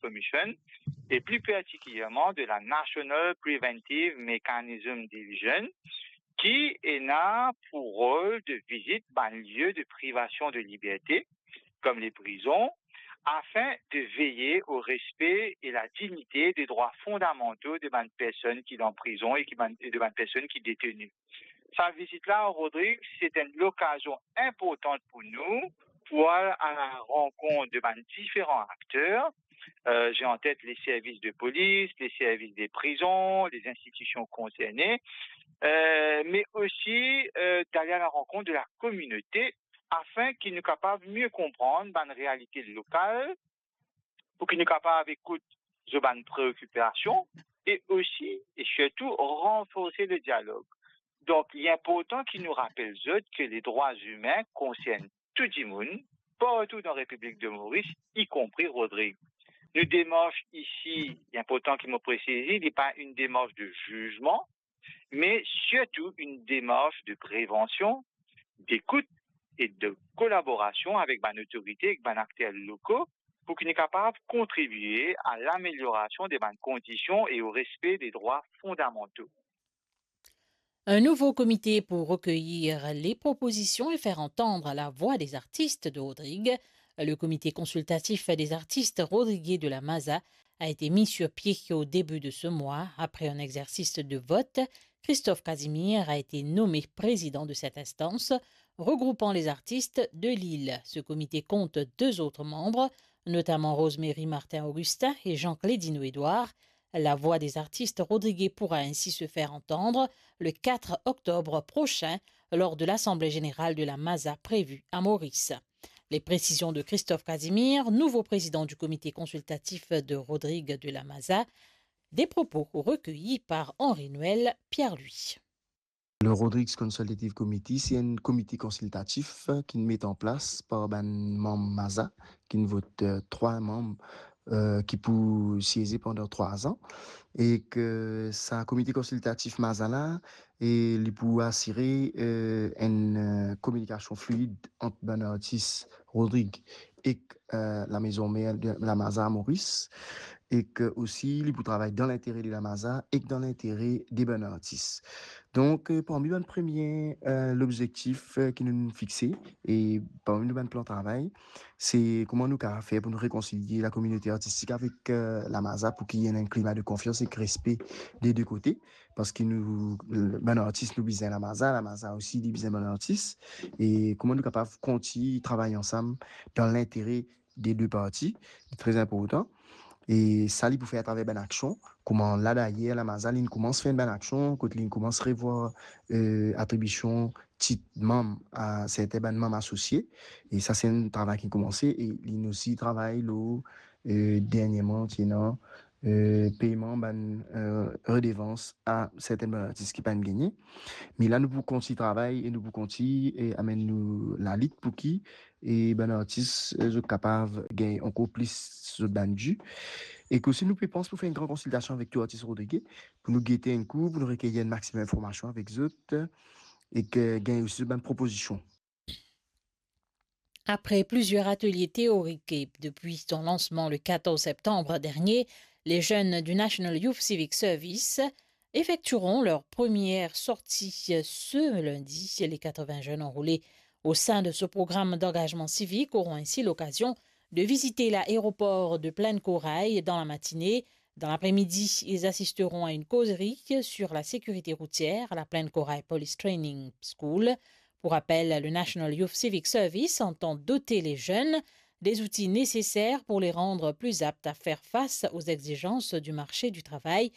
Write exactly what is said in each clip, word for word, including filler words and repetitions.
Commission, e pli partikilierman de la National Preventive Mechanism Division, ki ena pou rol de vizit bann lie de privasion de liberte, kom le prizon, afin de veye o respe e la dignite de drwa fondamanto de bann personn ki dan prizon e ki bann, e de bann personn ki deteni. Sa vizit la, Rodrig, se enn lokazion inportan pou nou pou al a la rankont de bann diferan akter. Euh, j'ai en tête les services de police, les services des prisons, les institutions concernées, euh, mais aussi, euh, d'aller à la rencontre de la communauté afin ki nou kapav mie konprann bann realite lokal, pou ki nou kapav ekout zot bann preokipasion e osi e sirtou ranforse le dialog. Donk, li inportan ki nou rapel zot ke le drwa imin konsern tou dimoun, partou dan Repiblik de Moris, ikonpri Rodrig. Nou demars isi, li inportan ki mo presize, li pa enn demars de zizman, me sirtou enn demars de prevansion, dekout e de kolaborasion avek bann otorite, ek bann akter loko, pou ki nou kapav kontribie a lameliorasion de bann kondision e o respe de drwa fondamanto. Un nouveau comité pour recueillir les propositions et faire entendre la voix des artistes de Rodrigues. Le comité consultatif des artistes rodrigués de la Maza a été mis sur pied au début de ce mois. Après un exercice de vote, Christophe Casimir a été nommé président de cette instance, regroupant les artistes de l'île. Ce comité compte deux autres membres, notamment Rosemary Martin-Augustin et Jean Clédino Édouard. La voix des artistes rodrigués pourra ainsi se faire entendre le quatre octobre prochain lors de l'Assemblée générale de la Maza prévue à Maurice. Les précisions de Christophe Casimir, nouveau président du comité consultatif de Rodrigues de la Maza, des propos recueillis par Henri-Noël Pierre-Louis. Le Rodrigues Consultative Committee, se enn komite konsiltatif ki met an plas par bann manm Maza, ki vot, euh, trwa manm, euh, ki pou sieze pandan trwa an. E ke sa komite konsiltatif Maza la, e li pou asire, euh, enn, euh, kominikasion fluid ant bann artis Rodrigues ek, euh, lamezon mer de la Maza Moris, e ke osi li pou travay dan lintere de la Maza ek dan lintere de bann artis. Donk, euh, parmi bann premie, euh, lobzektif, euh, ki nou fixe, e parmi nou bann plan travay, se kouma nou kapav fer pou nou rekonsilie lakominote artistik avek, euh, la Maza pou ki ena enn klima de konfians ek respe de de kote. Parski nou, bann artis, nou bizin la Maza, la Maza osi, li bizin bann artis. E kouma nou kapav kontign travay ansam dan lintere de de parti, li tre inportan. E sa, li pou fer atraver bann aksion. Kouma la, dayer, la Maza, li koumans fer bann aksion, kot li koumans revwar, euh, atribision tit manm a sertin bann manm asosie. E sa, se enn travay ki koumanse. E li osi travay lor, euh, derniereman, ti ena, euh, peyman bann, euh, redevans a sertin bann artis ki pa'nn gagne. Me la, nou pou kontign travay e nou pou kontign, e, amenn nou lalit pou ki, e, bann artis, e, zot kapav gagn ankor plis zot bann di. E ke osi nou pe pans pou fer enn gran konsiltasion avek tou artis rodrige, pou nou gete enn kou, pou nou rekeyir enn maximum informasion avek zot, e ke gagn osi zot bann propozision. Après plusieurs ateliers théoriques et depuis son lancement le quatorze septembre dernier, les jeunes du National Youth Civic Service effectueront leur première sortie ce lundi. Les quatre-vingts jeunes enrôlés au sein de ce programme d'engagement civique auront ainsi l'occasion de visiter l'aéroport de Plaine Corail dans la matinée. Dans l'après-midi, ils assisteront à une causerie sur la sécurité routière à la Plaine Corail Police Training School. Pour rappel, le National Youth Civic Service entend doter les jeunes des outils nécessaires pour les rendre plus aptes à faire face aux exigences du marché du travail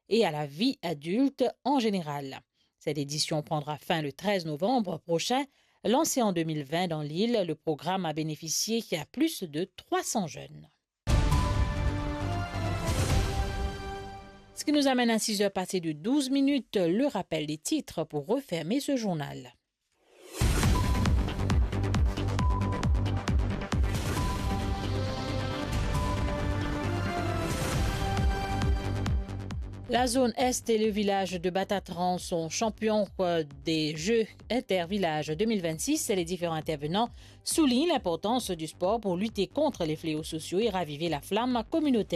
et à la vie adulte en général. Cette édition prendra fin le treize novembre prochain. Lancé en deux mille vingt dans l'île, le programme a bénéficié à plus de trois cents jeunes. Ce qui nous amène à six heures passées de douze minutes, le rappel des titres pour refermer ce journal. La zone Est et le village de Batatran sont champions, euh, des Jeux Intervillages deux mille vingt-six. Les différents intervenants soulignent l'importance du sport pour lutter contre les fléaux sociaux et raviver la flamme communautaire.